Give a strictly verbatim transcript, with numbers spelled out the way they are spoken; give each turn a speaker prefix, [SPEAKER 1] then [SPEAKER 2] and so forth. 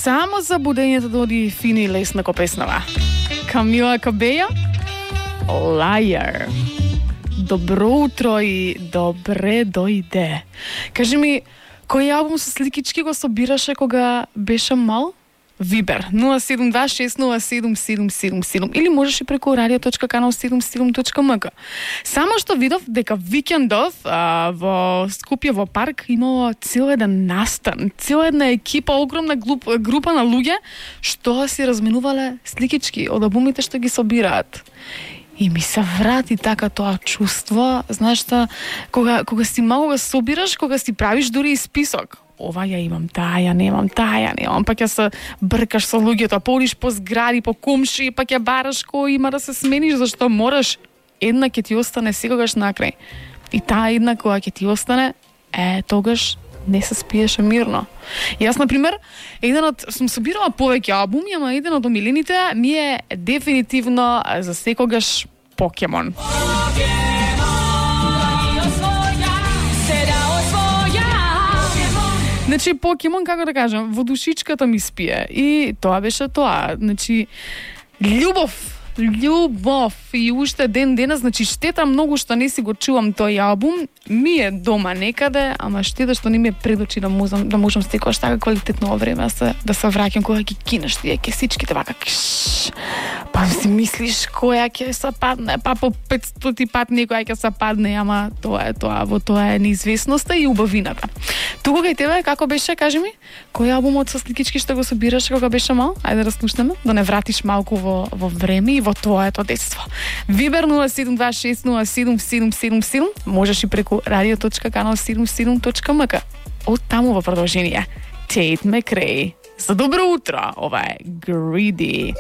[SPEAKER 1] Само за будењето да оди фини и лесно ко песнава. Камила Кабеја, Liar. Добро утро и добре дојде. Кажи ми, кој албум со сликички го собираше кога беше мал? Вибер нула седум два шест нула седум седум седум седум или можеш и преку радио точка канал седумдесет и седум точка ем ка. Само што видов дека викендов а, во Скопје во парк имало цел еден настан, цела една екипа, огромна глуп, група на луѓе што си разменувале сликички од албумите што ги собираат. И ми се врати така тоа чувство, знаеш што, кога, кога си малку го собираш, кога си правиш дури и список. Ова ја имам, таа ја немам, таа ја немам, пак ја се бркаш со луѓето, поудиш по згради, по комши, пак ја бараш кој има да се смениш, зашто мораш, една ќе ти остане секогаш накрај. И таа една која ќе ти остане, е, тогаш не се спиеше мирно. Јас, например, еден од, сум собирала повеќе албуми, ама еден од омилените ми е дефинитивно за секогаш Покемон. Значи, Покемон, како да кажам, во душичката ми спие. И тоа беше тоа. Значи, љубов, љубов и уште ден денес, значи штета многу што не си го чувам тој албум, ми е дома некаде, ама штета што не ми е пред очи да можам да можам секогаш така квалитетно време да се да се враќам кога ги кинеш тие кесичките вака. Кш, па си мислиш која ќе се падне, па по петстоти пат некоја ќе се падне, ама тоа е тоа, во тоа е неизвестноста и убавината. Туку кај тебе како беше, кажи ми, кој албумот со сликички што го собираш кога беше мал? Ајде да слушнеме, да не вратиш малку во во време и во твоето детство. Вибер нула седум два шест нула седум седум седум седум, можеш и преку радио точка канал седумдесет и седум точка ем ка. Од таму во продолжение Тейт Макрей. За добро утро, ова е Greedy.